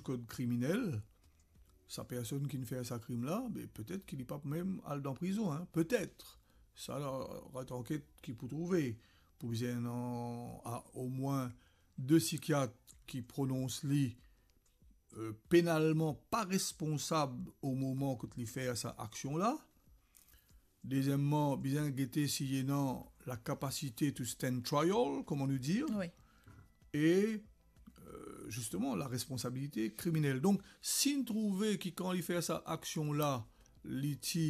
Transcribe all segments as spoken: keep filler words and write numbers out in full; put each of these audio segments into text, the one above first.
kod kriminel, sa personn ki finn fer sa krim la, be petet ki li pa pou mem al dan prizon, hein, petet. Sa, la, rat anket ki pou trouve, pou bizin ena omwin de sikiat ki pronons li, euh, penalman pa responsab o moman kot li fer sa aksion la. Dezieman, bizin gete si li ena la capacité to stand trial, kouma nou dir. Wi. E, euh, zisteman, la responsabilite kriminel. Donk, si nou trouve ki kan li fer sa aksion la, li ti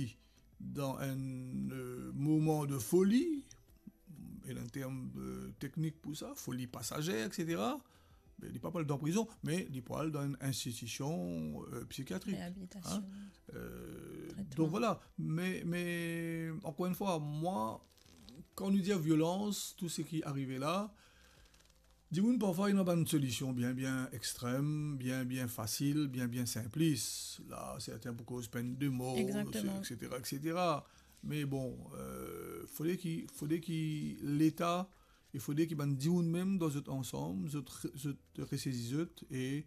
dan enn, euh, moman de foli, e dan term, euh, teknik pou sa, foli pasazer, et cetera, be, li pa pou al dan prizon, me li pou al dan enn institision, euh, psikiatrik. Reabilitasion. Hein? Euh, Tretman. Donk, vwala. Me, me, ankor enn fwa, mwa, kan nou dir violans, tou seki arive la, dimoun parfwa ena bann solision bien, bien extrem, bien, bien fasil, bien, bien sinplis. La, sertin pou koz penn de mor, Exactement. et cetera, et cetera. Me bon, euh, fode ki, fode ki Leta, e fode ki bann dimoun mem dan zot ansam, zot re-, zot resezi zot e,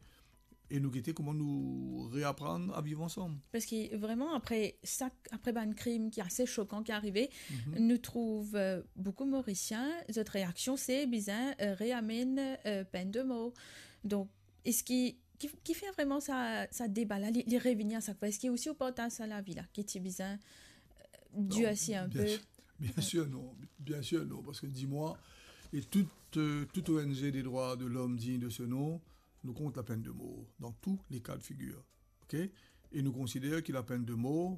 e nou gete kouma nou reaprann a viv ansam. Parski vreman, apre sa, apre bann krim ki ase sokan ki arive, Mhm. nou trouv, euh, boukou Morisien, zot reaksion se bizin, euh, reamenn, euh, penn de mor. Donk, eski, ki, ki fer vreman sa, sa deba la, li, li revini a sak fwa? Eski osi ou partaz sa lavi la, ki ti bizin, euh, Non, dirsi enn bien pe? Sir, bien sir non, bien sir non, parski di mwa, e tout, euh, tout O N G de drwa de lom dign de se non, nou kont lapenn de mor, dan tou le ka de figir. Ok? E nou konsider ki lapenn de mor,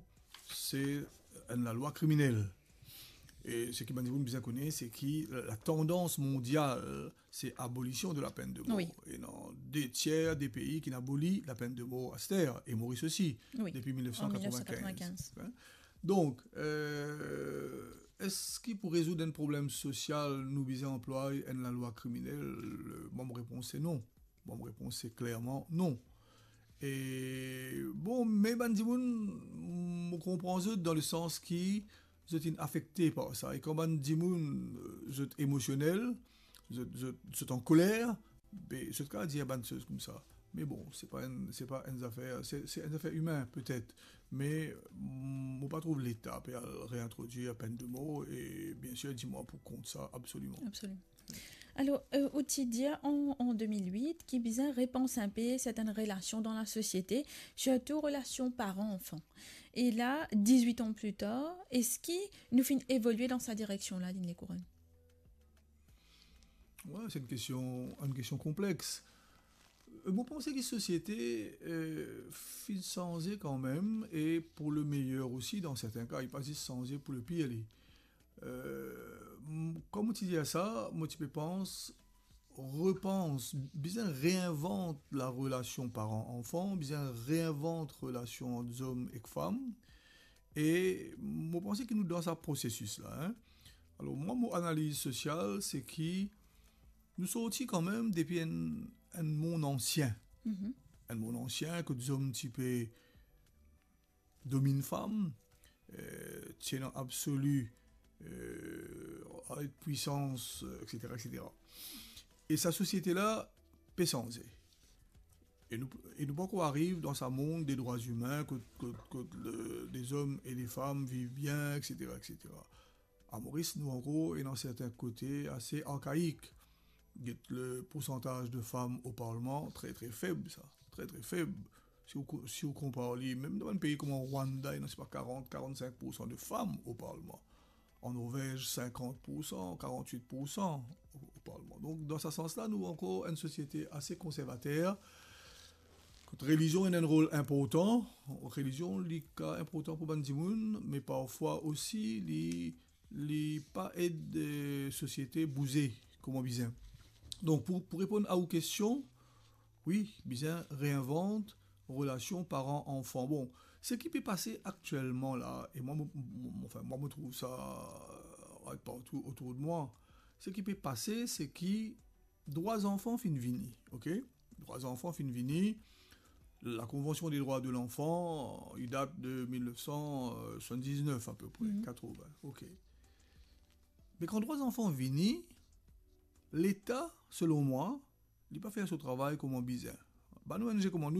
se enn lalwa kriminel. E seki bann dimoun bizin kone, se ki la, la tandans mondial, se abolision de lapenn de mor. Wi. E ena de tier de pei ki finn aboli lapenn de mor aster, e Moris osi, Wi. depi mil nef san katrevinkinz. An mil nef san katrevinkinz. Hein? Donk, euh, eski pou rezoud enn problem sosial, nou bizin anplway enn lalwa kriminel? Euh, bon, mo repons se non. Bon, mo repons se klerman non. E, bon, me bann dimoun, mo konpran zot dan le sans ki zot inn afekte par sa. E kan bann dimoun, euh, zot emosionel, zot, zot, zot ankoler, be, zot kav dir bann soz koumsa. Me bon, se pa enn, se pa enn zafer, se, se enn zafer imin, petet. Me, mm, mo pa trouv Leta pe al reintrodir penn de mor, e bien sir, di mwa pou kont sa, absoliman. Absoliman. Alor, euh, ou ti dir an, an de mil wit, ki bizin repans enn pe sertenn relasion dan lasosiete, sirtou relasion paran-anfan. E la, dizwit an pli tar, eski nou finn evolie dan sa direksion la, Digne Lekouronn? Wi, se enn kestion, enn kestion konplex. Euh, mo panse ki sosiete, euh, finn sanze kanmem, e pou le meyer osi dan serten ka, li pa zis sanze pou le pir, li. Euh, m-, kan mo ti dir sa, mo ti pe pans, repans, bizin reinvant larelasion paran-anfan, bizin reinvant relasion ant zom ek fam, e mo panse ki nou dan sa prosesis la, hein. Alor, mwa, mo analiz sosial, se ki nou sorti kanmem depi enn, enn mond ansien. Mhm. Enn mond ansien, kot zom ti pe dominn fam, euh, ti ena absoli, euh, avek pwisans, euh, et cetera, et cetera. E sa sosiete la pe sanze. E nou, e nou pankor ariv dan sa mond de drwa imin, kot, kot, kot le, de zom e de fam viv bien, et cetera, et cetera. A Moris, nou ankor ena serten kote ase arkaik. Get le poursantaz de fam o parlman, tre, tre feb, sa. Tre, tre feb. Si ou ko-, si ou konpar li, mem dan bann pei kouma Rwanda, ena, se pa, karant, karannsink poursan de fam o parlman. An Norvez, sinkant poursan, karantwit poursan o, o parlman. Donk, dan sa sans la, nou ankor enn sosiete ase konservater. Kot relizion ena enn rol inportan, relizion, li kav inportan pou bann dimoun, me parfwa osi, li, li pa ed, eh, sosiete bouze kouma bizin. Donk, pou, pou reponn a ou kestion, wi, bizin reinvant relasion paran-anfan. Bon, seki pe pase aktielman la, e mwa, mo, mo, mo, anfin, mwa, mo trouv sa, eh, partou otour de mwa. Seki pe pase, se ki drwa zanfan finn vini, ok? Drwa zanfan finn vini, la Konvansion de drwa de lanfan, li dat de mil nef san swasanndiznef apepre, Mhm. katrovin, ok. Me kan drwa zanfan vini, Leta, selon mwa, li pa fer so travay kouma bizin. Bann O N G kouma nou,